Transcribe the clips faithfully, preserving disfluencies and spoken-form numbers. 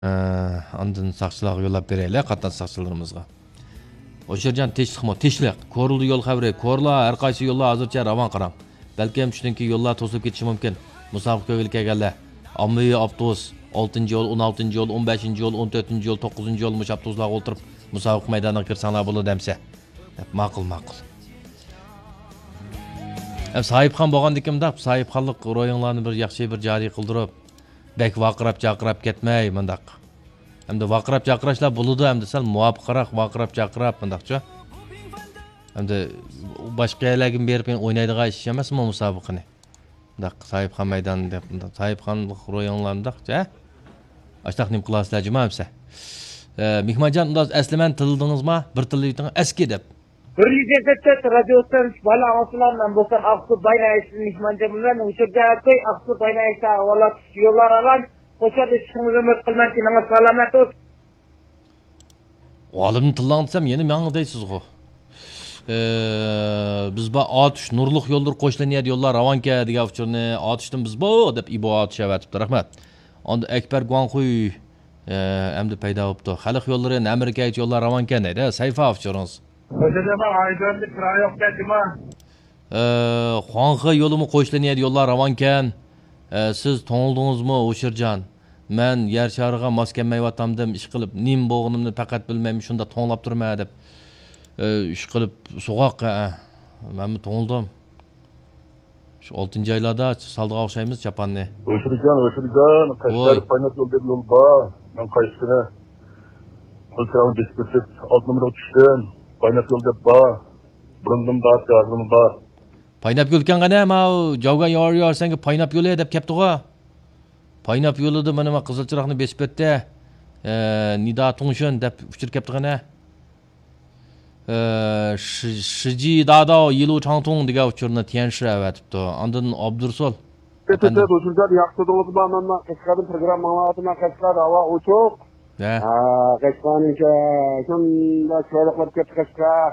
ئە، ئاندىن ساقچىلارغا يوللاپ بېرەيلى، قاتناش ساقچىلىرىمىزغا. ھوشيارجان، تىنچلىقمۇ؟ تىنچلىق. كورلا يول خەۋىرى. كورلا، ھەر قايسى يوللار ھازىرچە راۋان قاراڭ. بەلكىم چۈنكى يوللار توسۇلۇپ كېتىشى مۇمكىن. مۇسابىقە كۆيگىلى كەلگەنلەر. ئاممىۋى ئاپتوبۇس، ئالتىنچى يول، ئون ئالتىنچى يول، ئون بەشىنچى يول، ئون تۆتىنچى يول، توققۇزىنچى يول، مۇشۇ ئاپتوبۇسلارغا ئولتۇرۇپ، مۇسابىقە مەيدانىغا كىرسەڭلار بولىدۇ دەمسە. دەپ، ماقۇل، ماقۇل. ھەم ساھىبخان بولغاندىكىن مۇنداق، ساھىبخانلىق روھىڭلارنى بىر ياخشى بىر جارى قىلدۇرۇپ، بەك ۋارقىراپ جارقىراپ كەتمەي مۇنداق. ئەمدى ۋارقىراپ جارقىراشلار بولىدۇ، ئەمدى سەل مۇۋاپىقراق ۋارقىراپ جارقىراپ مۇنداقچۇ. ئەمدى باشقا يەرلەرگە بېرىپ ئوينايدىغان ئىش ئەمەسمۇ مۇسابىقىنى. مۇنداق ساھىبخان مەيدانى دەپ، مۇنداق ساھىبخانلىق روھىڭلار مۇنداقچە. ئاشتاق نېمە قىلاسىلەر جۇما ئەمسە. ئە، مېھمانجان، ئۇنداق ئەسلى مەن تىللىدىڭىزما؟ بىر تىللىۋېتىڭ، ئەسكى دەپ. بىر يۈز يەتتە تۆت رادىيو ئىستانسىسى بالا ئاڭلىسىلار، مەن بولسام ئاقسۇ باينايىشتىن مېھمانجان بىلەن ئۇچۇرجان ئاكاي، ئاقسۇ باينايىشتا ئاۋۋاللا يوللار ئالان، خوش ياردىشىڭىزنى ئۈمىد قىلىمەن، تېنىڭىز سالامەت بولسۇن. ئالىمنى تىللاڭ دېسەم، يەنە ماڭا دەيسىزغۇ. ئە، بىز بار ئاتۇش نۇرلۇق يوللىرى قوشۇلغان يەردە يوللار راۋانكەن دېگەن ئۇچۇرنى ئاتۇشتىن بىز بار دەپ ئىبو ئاتۇش ئەۋەتىپتۇ. رەھمەت. ئاندىن ئەكبەر گۇاڭخۇي، ئە، ئەمدى پەيدا بوپتۇ. خەلق يوللىرى نەمىرىكەگىچە يوللار راۋانكەن دەيدۇ. سەيفا ئۇچۇرىڭىز. خوجا جاما، ئايدىڭدا كىرا يوق دەيدىما؟ ئە، خۇاڭخې يولىمۇ قوشۇلغان يەردە يوللار راۋانكەن. ئە، سىز توڭلىدىڭىزمۇ، ھوشيارجان؟ مەن يەر شارىغا ماس كەلمەيۋاتامدىم، ئىشقىلىپ نېمە بولغىنىمنى پەقەت بىلمەيمەن، شۇنداق توڭلاپ تۇرىمەن دەپ. ئە، ئىشقىلىپ سوغۇق، ھە. مەنمۇ توڭلىدىم. شۇ ئالتىنچى ئايلاردا سالىدىغان ئوخشايمىز چاپاننى. ھوشيارجان، ھوشيارجان، قەشقەر ۋاي. پايناپ يول دەپ يول بار. مەن قايسىسىنى؟ قىلچىراغنى بېسىپ ئۆتۈپ، ئالتە نومۇرغا چۈشتۈم. پايناپ يول دەپ بار. بۇرۇندىن بار، ھازىرمۇ بار. پايناپ يولكەن قېنى، ماۋۇ جاۋگان يار يار سەنگە پايناپ يولى دەپ كەپتىغۇ. پايناپ يولىدا مانا ما قىزىل چىراغنى بېسىپ ئۆتتى. ئە، نىدا تۇڭشۈن دەپ ئۇچۇر كەپتۇ قېنى. ئە، شى-، شىجى داداۋ يىلۇ چاڭتۇڭ دېگەن ئۇچۇرنى تيەنشى ئەۋەتىپتۇ. ئاندىن ئابدۇرسۇل ئەپەندىم. ھوشۇرجان، ياخشى تۇردىڭىزمۇ؟ مەن قەشقەردىن پروگرامما ئاڭلاۋاتىمەن. قەشقەردە ھاۋا ئوچۇق. ھە. ھە، قەشقەرنىڭكى شۇنداق چىرايلىق بولۇپ كەتتى قەشقەر.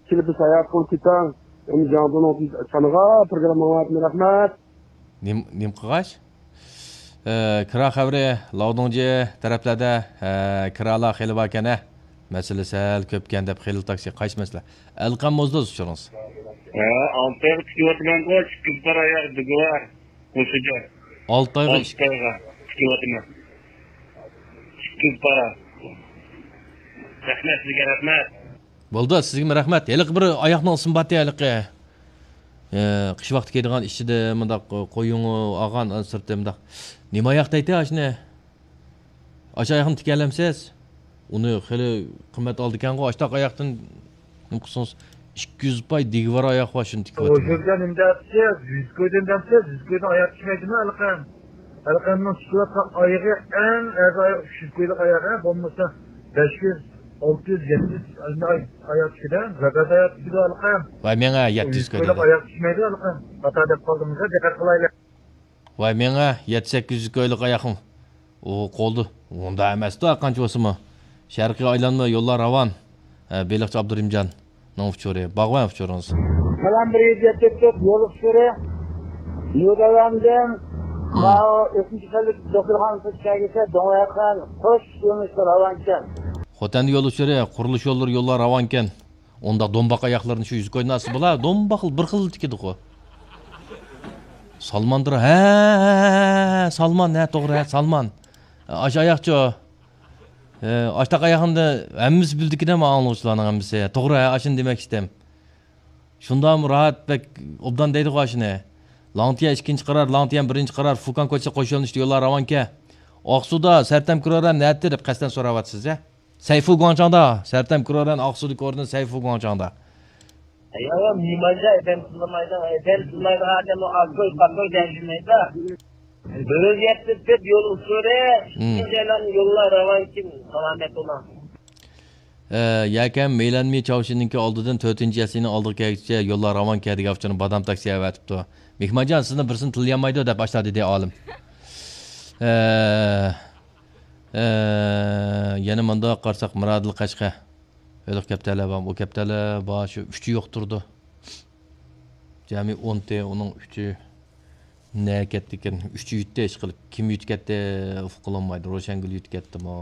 كېلىپ بىر ساياھەت قىلىپ كېتىڭ. ئەمدى جاڭدۇنىڭ چانىغا پروگرامما ئاڭلاۋاتىمەن. رەھمەت. نېم-، نېمە قىلغاچ؟ ئە، كىرا خەۋىرى، لاۋدۇڭجى تەرەپلەردە، ئە، كىرالار خېلى باركەن، ھە؟ مەسىلە سەل كۆپكەن دەپ خېلى تاكسى. قايسى مەسىلە؟ ئەلقەم موزدۇز ئۇچۇرىڭىز. ھە، ئالتە ئايغا تىكىۋاتىمەنغۇ، ئىككى يۈز پارا ئاياغ دېگۈۋار. مۇشۇ گەپ. ئالتە ئايغا ئالتە ئايغا تىكىۋاتىمەن. ئىككى يۈز پارا. رەھمەت سىزگە، رەھمەت. بولدى، سىزگىمۇ رەھمەت. ھېلىقى بىر ئاياقنىڭ ئىسمى بارتى ھېلىقى. ئە، قىش ۋاقتى كىيىدىغان ئىچىدە مۇنداق قويۇڭ ئالغان، سىرتى مۇنداق. نېمە ئاياق دەيتتى ئاشۇنى؟ ئاشۇ ئاياقنى تىكەلەمسىز؟ ئۇنى خېلى قىممەت ئالىدىكەنغۇ، ئاشتاق ئاياقتىن نېمە قىلسىڭىز، ئىككى يۈز پاي دىگىۋار ئاياق بار، شۇنى تىكىۋاتىمەن. ھوشۇرجان، نېمە دەپسىز؟ يۈز كويدىن دەپسىز؟ يۈز كويدىن ئاياق چىقمايدىمۇ ئەلقەم؟ ئەلقەمنىڭ چىقىۋاتقان ئايىغى ئەڭ ئەرزان ئاياغ ئۈچ يۈز كويلۇق ئاياغى، بولمىسا بەش يۈز، ئالتە يۈز، يەتتە يۈز ئاياق چىقىدۇ. زاكاز ئاياق چىقىدۇ ئەلقەم. ۋاي مېڭە يەتتە يۈز كوي دەيدۇ. ئاياق چىقمايدۇ ئەلقەم. خاتا دەپ قالدىڭىز، دىققەت قىلايلى. ۋاي مېڭە يەتتە سەككىز يۈز كويلۇق ئاياقمۇ. ئۇ قولدا. ئۇنداق ئەمەستۇ، قانچە بولسىمۇ. شەرقىي ئايلانما يوللار راۋان. ھە، بېلىقچى ئابدۇرېھىمجاننىڭ ئۇچۇرى. باغۋەن ئۇچۇرىڭىز. سالام، بىر يۈز يەتتە تۆت يول ئۇچۇرى. نيۇدېللاندىن، مم. ماۋۇ ئۆتمۈش يىللىق دوختۇرخانىسىغا كەلگۈچە دوڭاياققان قوش يۆنىلىشتە راۋانكەن. خوتەندە يول ئۇچۇرى، قۇرۇلۇش يوللىرى، يوللار راۋانكەن. ئۇنداق دومباق ئاياقلىرىنى شۇ يۈز كويدىن ئالسا بولا، دومباق بىر خىل تىكىدىغۇ. سالماندۇر، ھە، ھە، ھە، ھە، سالمان، ھە، توغرا، ھە، سالمان. ئاشۇ ئاياقچۇ. ھە، ئاشتاق ئاياقنى ھەممىسى بىلىدىكىن، ئاڭلىغۇچىلارنىڭ ھەممىسى. توغرا، ھە، ئاشۇنى دېمەكچىدىم. شۇنداقمۇ راھەت، بەك ئوبدان دەيدىغۇ ئاشۇنى. لاڭتيەن ئىككىنچى قارار، لاڭتيەن بىرىنچى قارار، فۇكاڭ كوچىسى قوش يۆنىلىشتە يوللار راۋانكەن. ئاقسۇدا سەرتەم كرورەن نەتتە دەپ قەستەن سوراۋاتىسىز، ھە؟ سەيفۇ گۇاڭچاڭدا، سەرتەم كرورەن ئاقسۇدىكى ئورنى سەيفۇ گۇاڭچاڭدا. يا، يا، مېھمانجان، ئادەم تىللىمايدۇ، ئادەم تىللايدىغان ئادەم ئۇ ئاكوي، پاكوي دەۋاتمايدۇ. بىر يۈز يەتتە تۆت يول ئۇچۇرى، مم. ئىككىنچى ئايلانما يوللار راۋانكەن، سالامەت بولۇڭ. ئە، يەكەن مېيلەنمى چاۋشىننىڭكى ئالدىدىن تۆتىنچى يەسلىنىڭ ئالدىغا كەلگۈچە يوللار راۋانكەن دېگەن ئۇچۇرنى بادام تاكسى ئەۋەتىپتۇ. مېھمانجان، سىزنى بىرسىنى تىللىيالمايدۇ دەپ ئاشۇنداق دېدى ئالىم. ئە، ئە، يەنە مۇنداق قارىساق، مىرادىل قەشقەر. ھېلىقى كەپتەرلەر بارمۇ؟ ئۇ كەپتەرلەر بار، شۇ ئۈچى يوق تۇرىدۇ. جەمئىي ئونتى، ئۇنىڭ ئۈچى. نە كەتتىكىن؟ ئۈچى يۈتتى ئىشقىلىپ. كىم يۈتۈپ كەتتى؟ ئۇققىلى بولمايدۇ. روشەنگۈل يۈتۈپ كەتتىمۇ؟